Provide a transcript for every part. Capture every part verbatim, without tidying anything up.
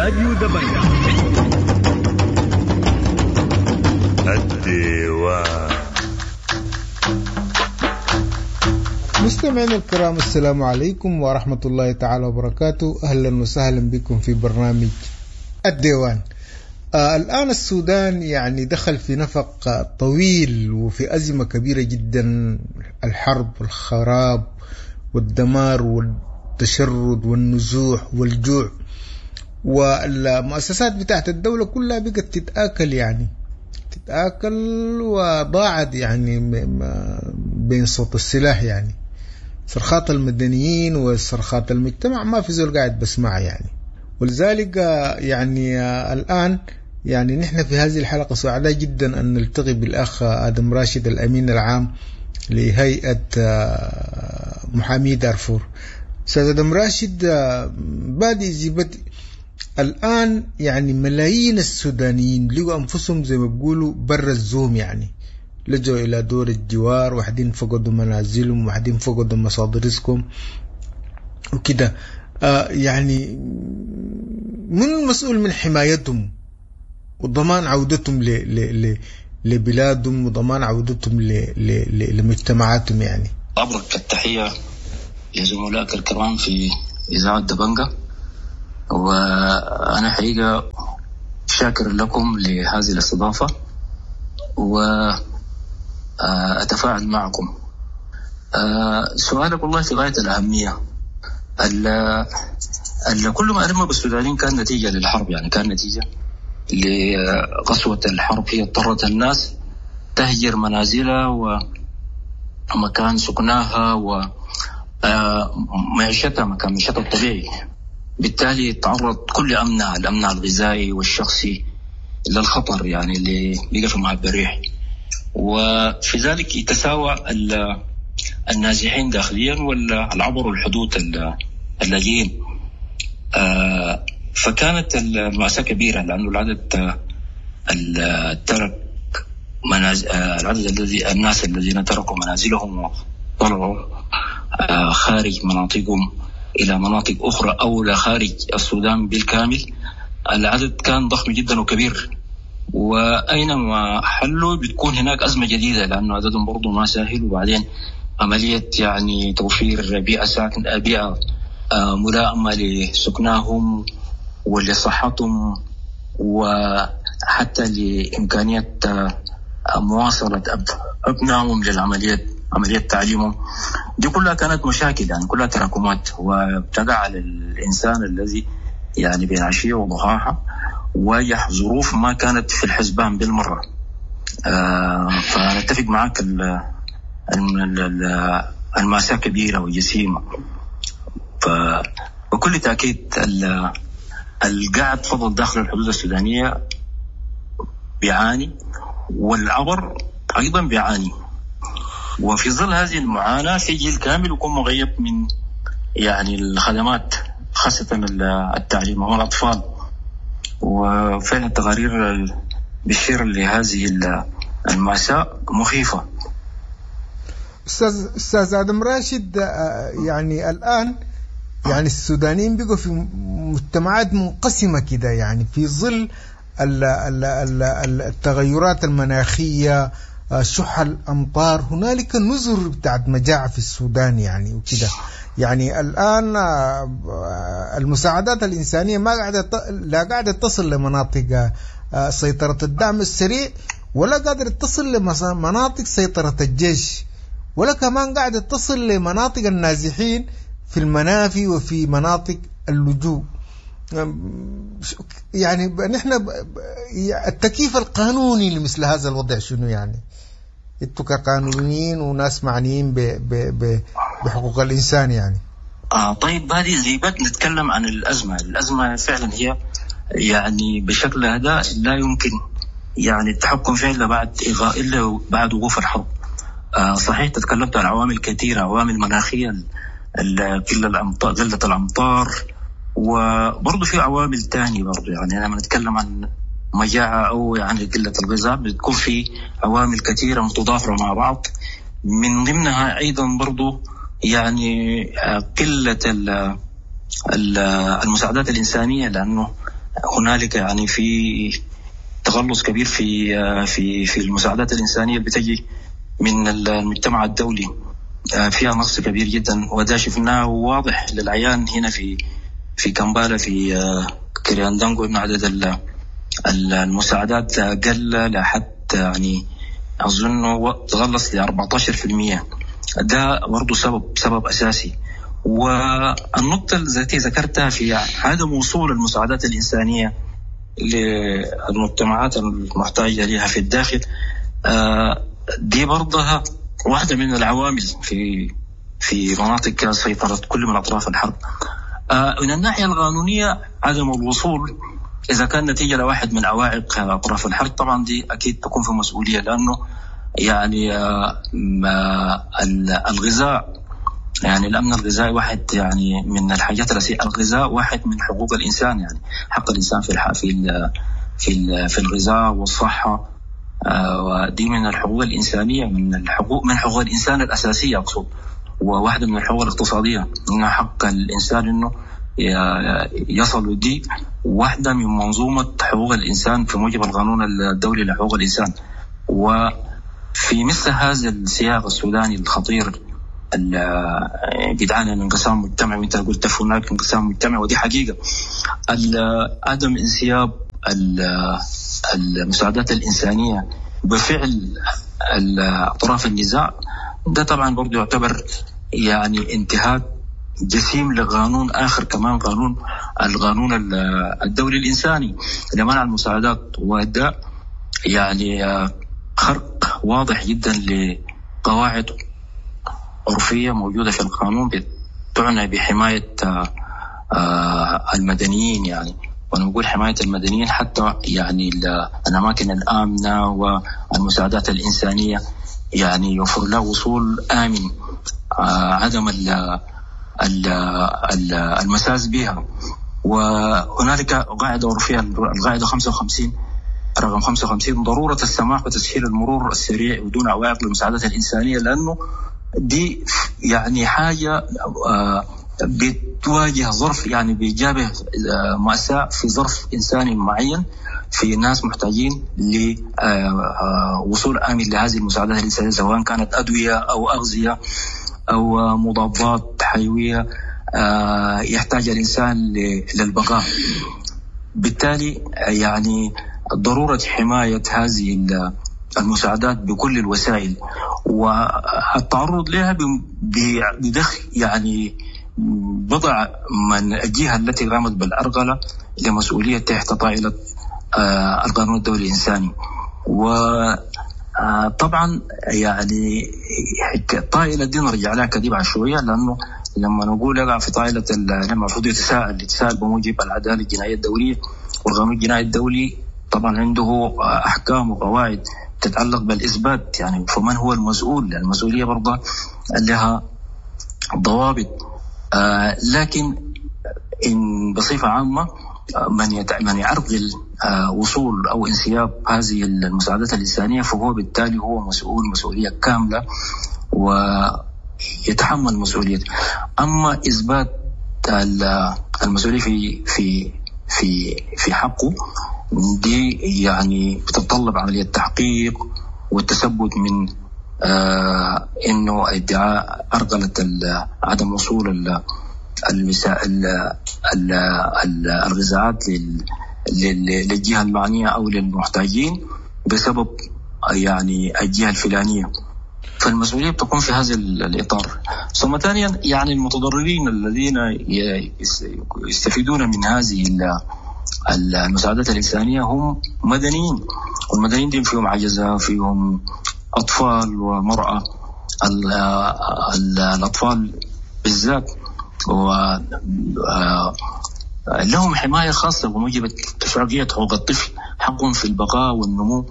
راديو دبنقا. الديوان. مستمعينا الكرام، السلام عليكم ورحمة الله تعالى وبركاته. أهلا وسهلا بكم في برنامج الديوان. آه الآن السودان يعني دخل في نفق طويل وفي أزمة كبيرة جدا، الحرب والخراب والدمار والتشرد والنزوح والجوع، والمؤسسات بتاعت الدولة كلها بقت تتآكل، يعني تتآكل وضاعت يعني بين صوت السلاح، يعني صرخات المدنيين وصرخات المجتمع ما في زول قاعد بسمعها يعني. ولذلك يعني الآن يعني نحن في هذه الحلقة سعداء جدا أن نلتقي بالأخ آدم راشد الأمين العام لهيئة محامي دارفور. أستاذ آدم راشد، بادئ ذي بدء الآن يعني ملايين السودانيين لقوا أنفسهم زي ما بيقولوا برا الزوم، يعني لجوا إلى دور الجوار، واحدين فقدوا منازلهم، واحدين فقدوا مصادر رزقهم وكده. آه يعني من المسؤول من حمايتهم وضمان عودتهم ل ل ل لبلادهم وضمان عودتهم ل ل ل لمجتمعاتهم؟ يعني أبرك التحية لزملائك الكرام في إذاعة دبنقا، وأنا حقيقة شاكر لكم لهذه الاستضافة وأتفاعل معكم. سؤالك والله في غاية الأهمية. ال كل ما ألم بالسودانيين كان نتيجة للحرب، يعني كان نتيجة لقسوة الحرب، هي اضطرت الناس تهجر منازلها ومكان سكناها ومعيشتها، مكان معيشتها الطبيعي. بالتالي تعرض كل أمنها، الأمن الغذائي والشخصي، للخطر، يعني اللي بقى في مهب الريح. وفي ذلك يتساوى النازحين داخليا والعبروا الحدود اللاجئين. آه فكانت المأساة كبيرة، لأنه العدد ترك منازل، العدد الذي الناس الذين تركوا منازلهم وطلعوا خارج مناطقهم إلى مناطق أخرى أو لخارج السودان بالكامل، العدد كان ضخم جدا وكبير. وأينما حلوا بتكون هناك أزمة جديدة، لأنه عددهم برضو ما سهل. وبعدين عملية يعني توفير بيئة ساكن، بيئة ملائمة لسكناهم ولصحتهم وحتى لإمكانية مواصلة أبنائهم للعملية، عملية تعليمهم، دي كلها كانت مشاكل، يعني كلها تراكمات، وتقع على الإنسان الذي يعني بين عشية وضحاها واجه ظروف ما كانت في الحسبان بالمرة. آه فنتفق معك، المأساة كبيرة وجسيمة. فبكل تأكيد القاعد فضل داخل الحدود السودانية بيعاني، والعبر أيضا بيعاني. وفي ظل هذه المعاناة في جيل كامل يكون مغيب من يعني الخدمات، خاصة التعليم والأطفال. وفعلا التقارير بتشير لهذه المأساة مخيفة. أستاذ أستاذ آدم راشد، يعني الآن يعني السودانيين بقوا في مجتمعات منقسمة كده، يعني في ظل التغيرات المناخية، شح الأمطار، هنالك نزر بتاعت مجاعة في السودان يعني وكده. يعني الآن المساعدات الإنسانية ما قاعدة لا قاعدة تصل لمناطق سيطرة الدعم السريع، ولا قادرة تصل لمناطق سيطرة الجيش، ولا كمان قاعدة تصل لمناطق النازحين في المنافي وفي مناطق اللجوء. يعني نحن التكييف القانوني لمثل هذا الوضع شنو؟ يعني انتوا كقانونيين وناس معنيين ب ب ب بحقوق الإنسان يعني. آه طيب، هذه زي بد نتكلم عن الأزمة. الأزمة فعلا هي يعني بشكل هذا لا يمكن يعني التحكم فيها إلا بعد إلا بعد وقوف الحرب. آه صحيح تتكلمت عن عوامل كثيرة، عوامل مناخية، قلة الأمطار، قلة الأمطار، وبرضه في عوامل تانية برضه. يعني لما نتكلم عن مجاعة أو يعني قلة الغذاء بتكون في عوامل كثيرة متضافرة مع بعض، من ضمنها أيضا برضه يعني قلة المساعدات الإنسانية، لأنه هنالك يعني في تغلص كبير في في في المساعدات الإنسانية بتجي من المجتمع الدولي، فيها نقص كبير جدا، وده شفناه واضح للعيان هنا في في كمبالا في كرياندانغو، إنه عدد المساعدات قل لحد يعني أظن تغلص ل أربعتاشر في المية. ده برضو سبب، سبب أساسي. والنقطة التي ذكرتها في عدم وصول المساعدات الإنسانية للمجتمعات المحتاجة لها في الداخل، دي برضها واحدة من العوامل في، في مناطق سيطرة كل من أطراف الحرب. من الناحية القانونية عدم الوصول إذا كان نتيجة لواحد من عوائق أطراف الحرب طبعا دي أكيد تكون في مسؤولية، لأنه يعني، آه، ما ال-، الغذاء، يعني الأمن الغذائي واحد يعني من الحاجات الأساسية. الغذاء واحد من حقوق الإنسان، يعني حق الإنسان في الح-، في ال-، في ال-، في الغذاء والصحة، آه، ودي من الحقوق الإنسانية، من الحقوق، من حقوق الإنسان الأساسية أقصد، وواحدة من الحقوق الاقتصادية، إنه حق الإنسان إنه ي-، يصل. دي واحدة من منظومة حقوق الإنسان في موجب القانون الدولي لحقوق الإنسان. وفي مثل هذا السياق السوداني الخطير ال-، بيدعانا لانقسام مجتمعي، وانت قلت هناك انقسام مجتمعي ودي حقيقة. ال-، عدم انسياب ال-، المساعدات الإنسانية بفعل ال-، أطراف النزاع ده طبعا برضو يعتبر يعني انتهاك جسيم لقانون آخر كمان، قانون القانون ال-، الدولي الإنساني لمنع المساعدات، وده يعني، آه، خرق واضح جدا لقواعد عرفية موجودة في القانون تعنى بحماية، آه، آه، المدنيين. يعني وأنا بقول حماية المدنيين حتى يعني ال-، الأماكن الآمنة والمساعدات الإنسانية يعني يوفر له وصول آمن، آه، عدم ال-، ال-، ال-، المساس بها. وهنالك قاعدة عرفية، القاعدة خمسة وخمسين رقم خمسة وخمسين، ضرورة السماح وتسهيل المرور السريع بدون عوائق للمساعدات الإنسانية، لأنه دي يعني حاجة، آه، بتواجه ظرف، يعني بيجابه، آه، مأساة في ظرف إنساني معين، في ناس محتاجين ل، آه، آه، وصول آمن لهذه المساعدات الإنسانية، سواء كانت أدوية أو أغذية أو مضادات حيوية، آه، يحتاج الإنسان ل-، للبقاء. بالتالي يعني ضرورة حماية هذه ال-، المساعدات بكل الوسائل والتعرض لها ب-، ب-، بدخل يعني بضع من الجهة التي قامت بالأرغلة لمسؤولية تحت طائلة، آه، القانون الدولي الإنساني. و، آه، طبعا يعني الطائلة دي نرجع لها كدي بعد شوية، لأنه لما نقول يقع في طائلة ال-، لما المفروض يتساءل، يتساءل بموجب العدالة الجنائية الدولية والقانون الجنائي الدولي طبعا عنده أحكام وقواعد تتعلق بالإثبات، يعني فمن هو المسؤول؟ المسؤولية برضه لها ضوابط. آه، لكن إن بصفة عامة، آه، من يت-، من يعرقل، آه، وصول أو انسياب هذه المساعدات الإنسانية فهو بالتالي هو مسؤول مسؤولية كاملة ويتحمل مسؤوليته. أما إثبات ال-، المسؤولية في، في، في، في حقه دي يعني بتتطلب عملية تحقيق والتثبت من، آه، إنه ادعاء أرغلة ال-، عدم وصول ال-، المسا-، ال-، ال-، ال-، الغذاءات لل-، لل-، للجهة المعنية أو للمحتاجين بسبب يعني الجهة الفلانية، فالمسؤولية بتكون في هذا ال-، الإطار. ثم ثانيا يعني المتضررين الذين ي-، يس-، يستفيدون من هذه ال-، ال-، المساعدات الإنسانية هم مدنيين، والمدنيين دي فيهم عجزة، فيهم أطفال ومرأة. ال-، ال-، الأطفال بالذات و، آه، لهم حماية خاصة بموجب اتفاقية حقوق الطفل، حقهم في البقاء والنمو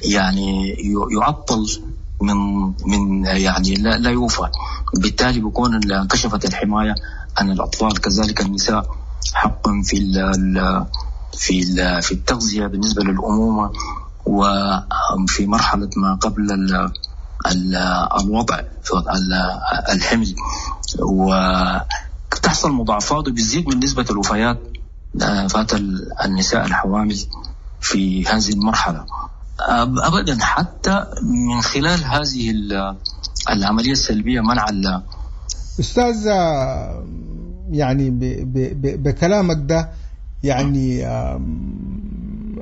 يعني ي-، يعطل من، من يعني لا، لا يوفى، بالتالي بيكون ال-، انكشفت الحماية عن الأطفال. كذلك النساء حق في ال-، ال-، في ال-، في التغذية بالنسبة للأمومة وفي مرحلة ما قبل ال-، ال-، الوضع في ال-، الحمل، وتحصل مضاعفات وبتزيد من نسبة الوفيات فات النساء الحوامل في هذه المرحلة أبدا، حتى من خلال هذه العملية السلبية منع. أستاذ، يعني ب ب بكلامك ده يعني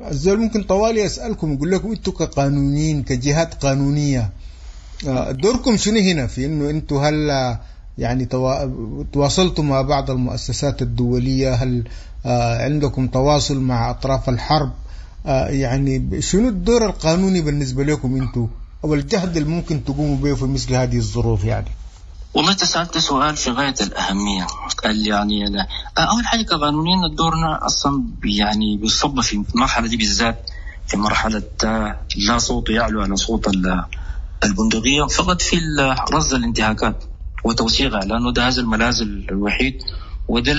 الزول ممكن طوالي يسألكم يقول لكم انتوا كقانونيين كجهات قانونية دوركم شنو هنا في انه انتوا هل يعني تواصلتوا مع بعض المؤسسات الدولية، هل عندكم تواصل مع أطراف الحرب، يعني شنو الدور القانوني بالنسبة لكم انتوا أو الجهد اللي ممكن تقوموا به في مثل هذه الظروف؟ يعني والله انت سألت سؤال في غاية الأهمية. يعني أول حاجة كقانونيين دورنا أصلا يعني بيصب في المرحلة دي بالذات، في مرحلة لا صوت يعلو على صوت البندقية، فقط في رصد الانتهاكات وتوثيقها، لأنه ده هذا الملاذ الوحيد وده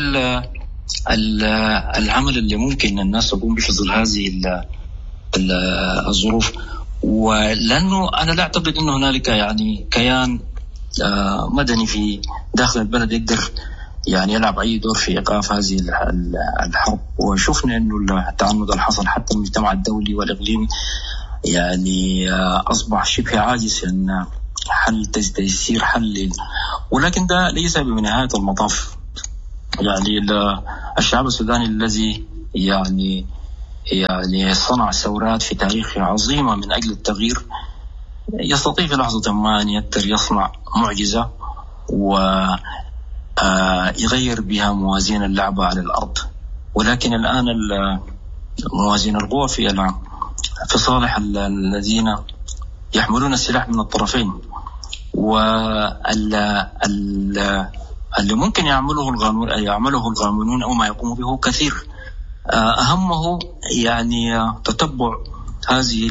العمل اللي ممكن الناس تقوم به في ظل هذه الظروف. ولأنه أنا لا أعتقد أنه هنالك يعني كيان مدني في داخل البلد يقدر يعني يلعب أي دور في إيقاف هذه الحرب. وشفنا أنه التعنت اللي حصل حتى المجتمع الدولي والإقليمي يعني أصبح شبه عاجز أن حل تيسير حل، ولكن ده ليس بنهاية المطاف. يعني الشعب السوداني الذي يعني يعني صنع ثورات في تاريخه عظيمة من أجل التغيير يستطيع في لحظة ما أن يقدر يصنع معجزة ويغير بها موازين اللعبة على الأرض. ولكن الآن موازين القوى في في صالح الذين يحملون السلاح من الطرفين، واللي ممكن يعمله القانون يعمله القانونون أو ما يقوم به كثير. أهمه يعني تتبع هذه